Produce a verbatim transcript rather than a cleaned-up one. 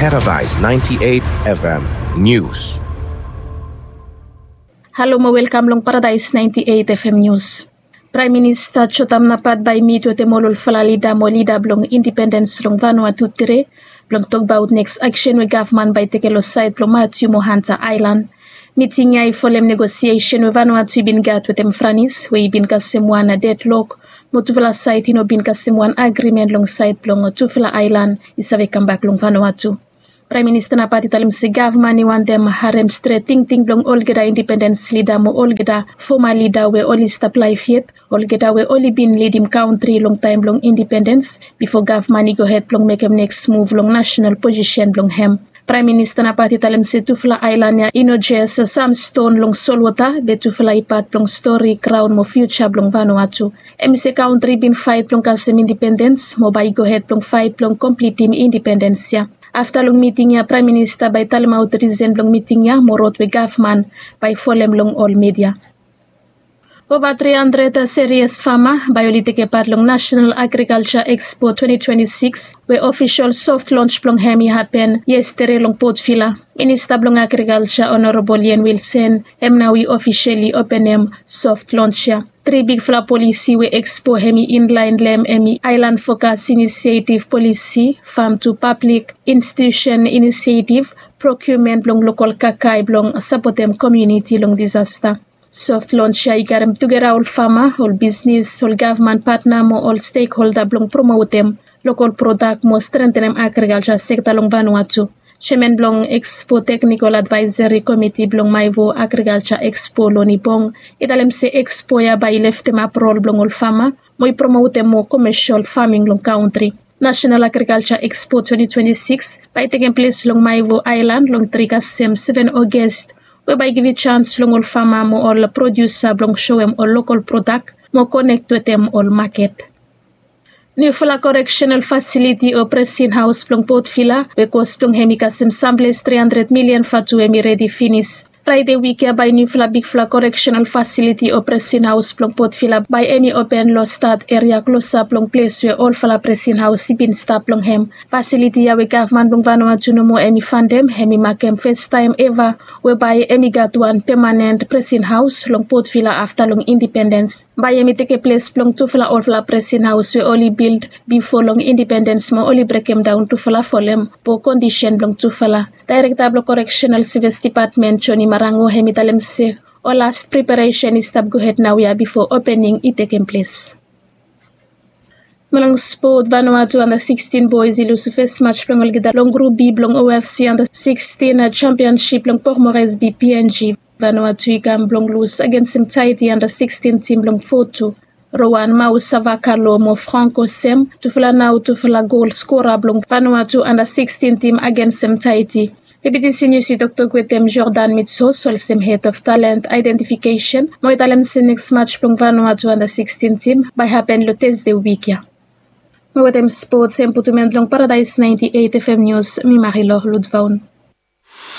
Paradise ninety-eight F M News. Halo mo welkam long Paradise ninety-eight F M News. Praem Minista Jotam Napat bae i mit wetem ol olfala lida mo lida blong indipendens long Vanuatu tede blong tokbaot neks aksen we gavman bae i tekem long saed blong Matiu mo Hanta Aelan. Miting ya i folem negosiesen we Vanuatu i bin gat wetem Franis we i bin kasem wan dedlok mo tufala saed i no bin kasem wan agrimen long saed blong tufala aelan i save kambak long Vanuatu. Praem Minista Napat i talem se gavman i wantem harem stret tingting blong olgeta indipendens lida mo olgeta foma lida we oli stap laef yet, olgeta we oli bin lidim kantri long taem blong indipendens bifo gavman i gohed blong mekem neks muv long nasenal posisen blong hem. Praem Minista Napat i talem se tufala aelan ya i no jes sam ston long solwota be tufala i pat blong stori, graon mo fiuja blong Vanuatu. Hem i se kantri bin faet blong kasem indipendens mo bae i gohed blong faet blong komplitim indipendens ya. Afta long miting ya Praem Minista bae i talemaot risen blong miting ya mo rod we gavman bae i folem long ol midia. Ova tri handred serias fama bae oli tekem pat long Nasenal Agrikalja Ekspo twenti twenti sikis we ofisol soft lons blong hem i hapen yestede long Port Vila. Minista blong Agrikalja Onorabol Ian Wilson hem nao i ofisali openem soft lons ya. Tri bigfala polisi we ekspo hem i inlaen long hem i Aelan Fokas Inisietiv Polisi, Fam tu Pablik Institiusen Inisietiv, prokiumen blong lokol kakae blong sapotem komuniti long disasta. Soft lons ya i karem tugeta ol fama, ol bisnis, ol gavman patna mo ol stekholda blong promotem lokol prodak mo strentenem agrikalja sekta long Vanuatu. Jeaman blong Ekspo Teknikol Advaeseri Komiti blong Maevo Agrikalja Ekspo, Loni Bong, i talem se ekspo ya bae i leftemap rol blong ol fama mo i promotem moa komesol faming long kantri. Nasenal Agrikalja Ekspo twenti twenti sikis bae i tekem ples long Maevo Aelan long tri kasem seven Oges, we bae i givim jans long ol fama mo ol prodiusa blong soem ol lokol prodak mo konek wetem ol maket. Niufala koreksenal fasiliti o presin haos blong Port Vila we kos blong hem i kasem samples tri handred milian vatu hem i redi finis. Fraede wik ya bae niufala bigfala koreksenal fasiliti o presin haos blong Port Vila bae hem i open long stat eria klosap long ples we olfala presin haos i bin stap long hem. Fasiliti ya we gavman blong Vanuatu nomo hem i fandem hem i makem fastaem eva we bae hem i gat wan pemanen presin haos long Port Vila afta long indipendens. Bae hem i tekem ples blong tufala olfala presin haos we oli bild bifo long indipendens mo oli brekemdaon tufala folem po kondisen blong tufala. Daerekta blong Koreksenal Sevis Dipatmen Joni Marango hem i talem se ol las preparesen i stap gohed naoia bifo opening i tekem ples. Mo long spot, Vanuatu anda sikstin boes i lusim fes maj blong olgeta long grup B blong O F C anda sikstin jampionsip blong Port Moresby P N G. Vanuatu i kam blong lus agensem Tahiti anda sikstin tim blong fo tu. Rowan Mau Savakalo mo Franco Sem tufala nao tufala gol skora blong Vanuatu anda sikstin tim agensem Tahiti. Deputi Senior i toktok wetem Jordan Mitsos olsem Head of Talent Identification mo i talem se neks maj blong Vanuatu anda sikstin tim bae hapen long Tesde wik ya. Mo wetem spots hem putum en long Paradise ninety eight F M News, mi Marilo Ludvaun.